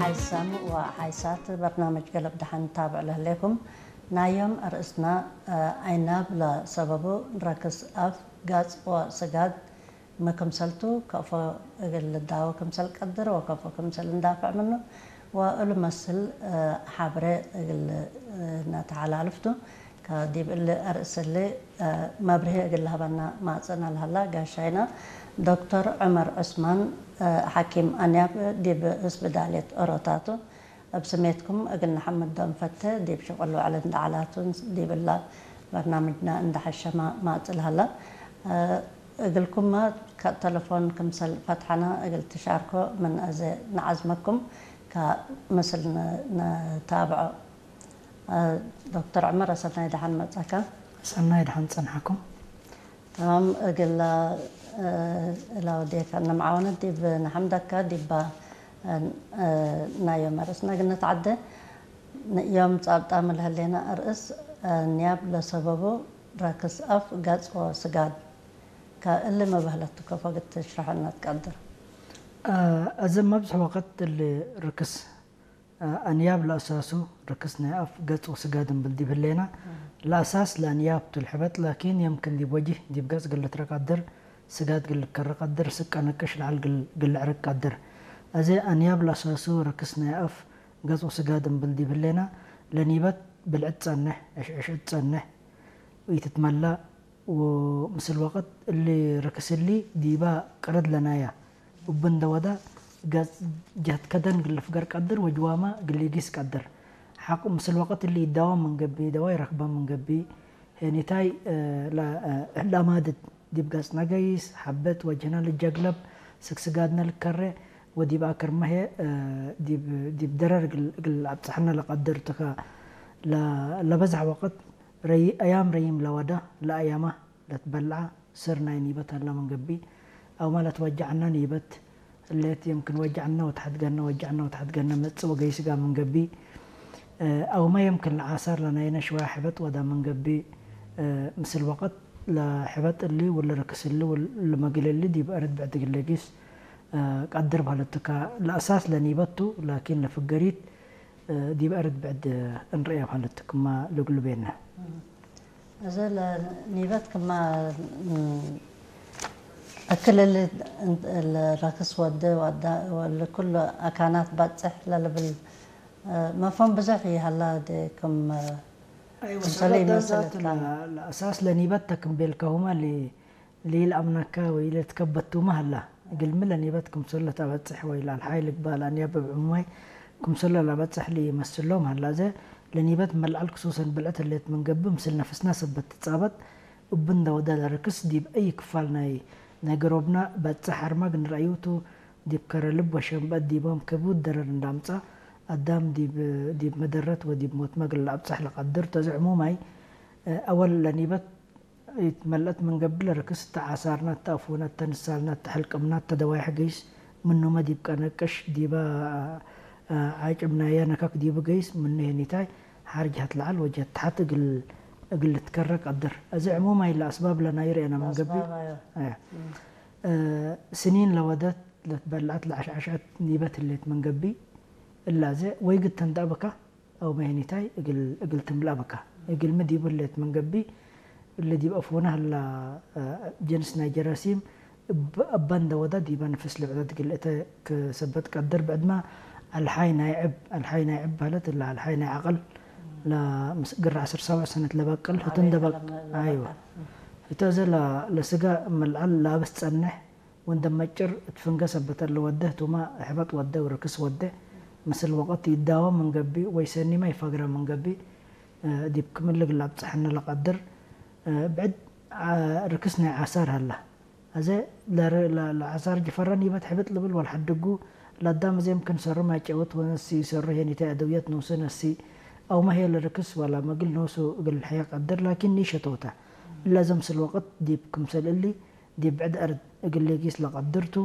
ሓይሳም ወሓይሳት በርናመጅ ገለብ ደሓን ታብዕ ለህሌኩም። ናዮም ኣርእስና፣ ኣይናብ ለሰበቡ ረክስ ኣፍ ጋጽ ወስጋድ መክምሰልቱ ከፎ እግል ልዳወ ክምሰል ቀድር ወከፎ ክምሰል እንዳፍዕ ምኑ ወእሉ መስል ሓብረ እግል ነተሓላልፍቱ። ከዲብ እሊ ኣርእስሊ መብርሂ እግል ሃበና ማጽእና ለሃላ ጋሻይና ዶክተር ዑመር ዑስማን፣ ሓኪም ኣንያብ ዲብ እስብዳልየት ኦሮታቱ። እብ ስሜትኩም እግል ነሐምዶም ፈተ ዲብ ሽቁል ወዕል እንዳ ዓላቱን ዲብ እላ በርናምጅና እንዳ ሐሸማ ማጽእ ለሀላ። እግልኩማ ከ ተለፎን ክምሰል ፈትሐና እግል ትሻርኮ ምን አዜ ነዓዝመኩም ከ ምስል ን-፣ ንታብዖ። ዶክተር ዑመር ሰናይ ደሓን መጻካ። ሰናይ ደሓን ጸንሓኩም። ተማም እግላ እላው ዴካ ነምዓወነት ዲብ ነሐምደካ ዲባ ናዮ መርስ ነግነት ዓደ ዮም ጻብጣ ምልህሌና እርእስ ኒያብ ለሰበቡ ረክስ ኣፍ ገጽ ወስጋድ ከእሊ መባህለቱ ከፎ ግት ትሽረሐና ትቀድር። እዚ መብዝሕ ወቅት እሊ ርክስ ኣንያብ ለእሳሱ ርክስ ናይ ኣፍ ገጽ ወስጋድ እምብል ዲብ ህሌና፣ ለእሳስ ለአንያብ ቱ ልሕበጥ፣ ላኪን የምክን ዲብ ወጅህ ዲብ ገጽ ግል ልትረቀድር፣ ስጋድ ግል ልከረቀድር፣ ስቀ ንቅሽ ለዓል ግል ልዕርቅ ቀድር። አዜ ኣንያብ ለእሳሱ ርክስ ናይ ኣፍ ገጽ ወስጋድ እምብል ዲብ ህሌና፣ ለኒበት ብልዕት ጸንሕ፣ ዕሽዕሽዕት ጸንሕ፣ ኢትትመላእ፣ ወምስል ወቅት እሊ ርክስ እሊ ዲባ ቅርድ ለናያ እብ እንደ ወዳ ገጽ ጀህት ከደን ግል ልፍገር ቀድር ወጅዋማ ግል ኢጊስ ቀድር። ሐቅ ምስል ወቅት እሊ ኢዳዋ ምን ገቢ፣ ኢዳዋ ይረክባ ምን ገቢ፣ ሄኒታይ ለማድድ ዲብ ገጽና ገይስ፣ ሐበት ወጅህና ልጀግለብ፣ ስግስጋድነ ልከሬ፣ ወዲብ አክርመ ህዬ ዲብ ደረር እግል አብጽሐነ ለቀድር ትካ። ለበዝሐ ወቅት ረይ-፣ አያም ረይም ለወደ ለአያማ ለትበልዐ ስር ናይ ኒበት ሀላ ምን ገቢ፣ አውመ ለትወጀዐነ ኒበት ህሌት፣ የምክን ወጀዐነ ወተሐድገነ፣ ወጀዐነ ወተሐድገነ መጽእ ወገይስ ጋር ምን ገቢ፣ አውመ የምክን ለዓሳር ለናይነ ሽዋየ ሕበጥ ወዳ ምን ገቢ፣ ምስል ወቅት ለሕበጥ እሊ ወለርክስ እሊ ወለመግል እሊ ዲብ አርድ ብዕድ እግል ለጊስ ቀድር በህለትካ። ለአሳስ ለኒበት ቱ፣ ላኪን ለፍገሪት ዲብ አርድ ብዕድ እንርእያ በህለትክማ ልግሉ ቤነ። እዚ ለኒበት ክማ እክል እሊ ለረክስ ወደ ወዳ ወልኩሉ አካናት ባጽሕ ለልብል መፍሁም ብዙሕ ይሃላ ደ ክም ኣይወ፣ ክምሰለ ሰበብ ይመስል ዛቱ እካ። ለ-፣ ለአሳስ ለኒበት ተክም ቤልካሁማ ሊ-፣ ሊልአምነካ ወይ ለትከበቱማ ሀላ። እግልሚ ለኒበት ክምሰል ለተበጽሕ ወይ ለአልሓይ ልግባል አንያብ እብ ዕሙማይ ክምሰል ለበጽሕ ሊመስሎም ሀላ። ዘ ለኒበት መልዓል ክሱሰን ብልዕት ህሌት ምን ገብእ ምስል ነፍስና ሰበት ትጻበጥ እብ እንደ ወደ ለርክስ ዲብ አይ ክፋል ናይ፣ ናይ ገሮብና በጽሕ አርማግ ንረአዩቱ ዲብ ከረ ልብ ወሸንበጥ ዲቦም ክቡድ ደረር እንዳምጻ አዳም ዲብ፣ ዲብ መደረት ወዲብ ሞት መግል ለአብጽሕ ለቀድር ተዚ ዕሙማይ፣ አወል ለኒበት ኢትመልአት ምን ገብእ ለርክስ እተ ዓሳርና፣ እተ አፉና፣ እተ ንሳልና፣ እተ ሕልቅምና፣ እተ ደዋይሕ ገይስ ምኑመ ዲብ ቀነቅሽ፣ ዲበ ዓጭብናያ ነከክ ዲቡ ገይስ፣ ምኑ ሄኒታይ ሓር ጀሀት ለዐል ወጀሀት ተሐት እግል፣ እግል ልትከረ ቀድር። እዚ ዕሙማይ ለአስባብ ለናዩ ርኤና ምን ገብእ። ለአስባብ፣ አዮ። አያ። እም። ስኒን ለወደት ለትበልዐት ለዐሽዐሸት ኒበት ህሌት ምን ገብእ። እላዘ ወይ ግድ ተንደአ ብካ፣ አው መሄኒታይ እግል፣ እግል ትምለአ ብካ። እግልሚ ዲቡ ህሌት ምን ገብእ፣ እሊ ዲብ አፉነ ህላ፣ እ፣ ጅንስ ናይ ጀራሲም እብ-፣ እበ እንደ ወዳ ዲበ ንፍስ ልብዕደት እግል እተ ክሰበት ቀድር። ብዕድመ አልሓይ ናይ ዕብ፣ አልሓይ ናይ ዕብ በህለት እላ አልሓይ ናይ ዐቅል ለምስ-፣ ግራ ዐስር ሰብዕ ሰነት ለበቅል ህቱ እንደ በቅ-፣ ለመ-፣ ለበቅል። አይወ። ህቱ አዘ ለ-፣ ለስጋ መልዓል ላብስ ጸንሕ ወንደ መጭር እት ፍንገ ሰበት እለ ወደ ህቱመ ሕበጥ ወደ ወርክስ ወደ ምስል ወቀት ይዳወ ምን ገብእ ወይ ሰኒመ ይፈግረ ምን ገብእ፣ እ፣ ዲብ ክምልግ ለአብጽሐነ ለቀድር፣ እ፣ ብዕድ፣ አ፣ ርክስ ናይ ዓሳር ሀላ። አዘ ለር-፣ ለ-፣ ለዓሳር ጅፈረን ይበት ሕብጥ ልብል ወልሐድጉ ለአዳም እዜ እምክን ሰሩ ማይ ጨውት ወነሲ ሰሩ ሄኒተ አደውየት ኖሱ ነሲ አውመ ሄ ለርክስ ወላ መግል ኖሱ እግል ልሕየ ቀድር ላኪን ኒሸ ቶተ። እለ ዘምስል ወቅት ዲብ ክምሰል እሊ ዲብ ብዕድ አርድ እግል ሌጊስ ለቀድር ቱ።